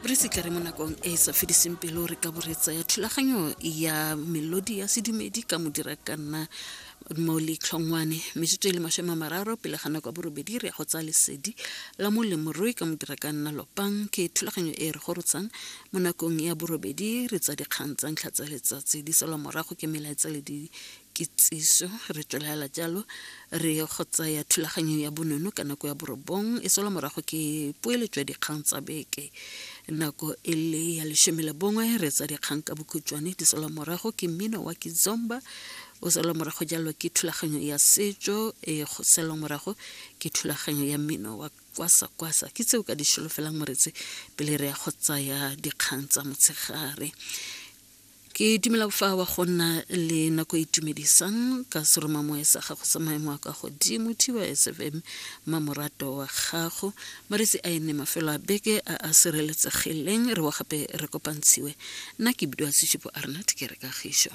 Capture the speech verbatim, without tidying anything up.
Re se tla re mo nakong e e sa fediseng pelo re ka bo re tsaya thulaganyo ya melodi ya sedumedi ka modira ka nna mo letlhongwane. Metsotso e le masome a mararo pele ga nako ya borobedi re ya go tsaya lesedi la molemorui ka modira ka nna Lopang. Ke thulaganyo e re gorotshang mo nakong ya borobedi re tsa dikgang tsa ntlha tsa letsatsi di salwa morago ke melaetsa le dikitsiso. Re tswelela jalo re go tsaya thulaganyo ya bonono ka nako ya borobong e salwa morago ke poeletso ya dikgang tsa beke. Nako e le ya leshome le bongwe re tsa dikgang ka bokhutshwane di salwa morago ke mmino wa Kizomba o salwa morago jalo ke thulaganyo ya setso e go salwa morago ke thulaganyo ya mmino wa kwasa kwasa. Ke tseo ka di solofelang moretsi pele re ya go tsaya dikgang tsa motshegare. Ke dumela fa wa go nna le nako e itumedisang ka seromamoya sa gago sa maemo a kwa godimo T Y S F M mamorato wa gago. Maretsi a e nne mafelo a beke a a sireletsegileng re wa gape re kopantshiwe. Nna ke bidiwa Seshupo Arnat ke re kagišo.